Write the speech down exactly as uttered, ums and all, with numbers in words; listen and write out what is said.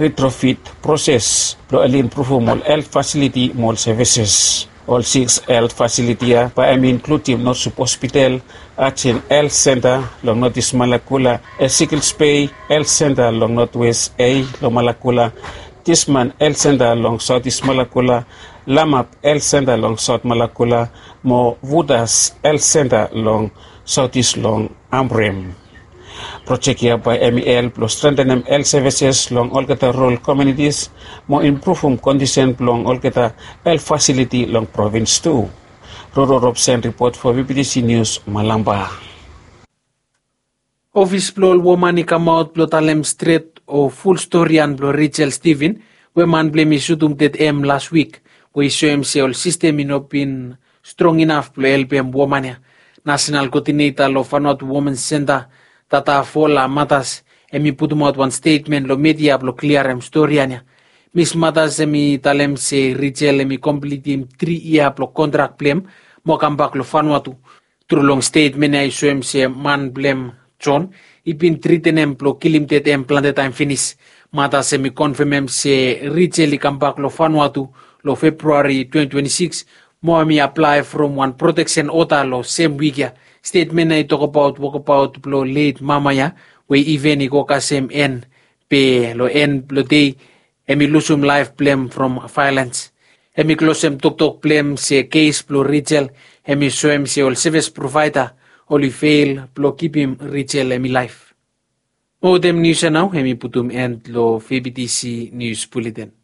retrofit proses blong oli impruvum ol helt fasiliti mo ol sevises. Ol siks helt fasiliti ya bae hem inkludim nosup hospital, ajen helt senta long notis malakula, esikil spei helt senta long notwes ei long malakula, disman helt senta long sautis malakula, lamap helt senta long saut malakula, mo vutas helt senta long sautis long amrem. Projek ya bae hem i help blong strentenem helt sevises long olgeta rural komiunitis mo impruvum kondisen blong olgeta helt fasiliti long provins tu. Roro robsen ripot fo vptc nius, malamba. Ofis blong ol woman i kamaot blong talem stret o ful storian blong Rejel Stiven, we man blong hem i sutum ded hem las wik, we i soem se ol sistem i no bin strong inaf blong helpem woman ya. Nasenal koodineta long Vanuatu Women Senta, Tata Fola Matas, hem i putumaot wan stetmen long media blong kliarem storian ya. Mis Matas hem i talem se Rejel hem i komplitim tri yia blong kontrak blong hem mo kambak long Vanuatu. Tru long stetmen ya i soem se man blong hem, John, i bin tretenem blong kilim ded hem plante taem finis. Matas hem i konfemem se Rejel i kambak long Vanuatu long Februari twenty twenty-six, mo hem i aplae from wan proteksen oda long sem wik ya. Stetmen ya i tokbaot wokbaot blong let mama ya, we i iven i go kasem en, be long en blong dei hem i lusum laef blong hem from vaelens. Hem i klosem toktok blong hem se kes blong Rejel hem i soem se ol sevis provaeda oli fel blong kipim Rejel hem i laef. Mo wetem nius ya nao hem i putum en long vptc nius buleten.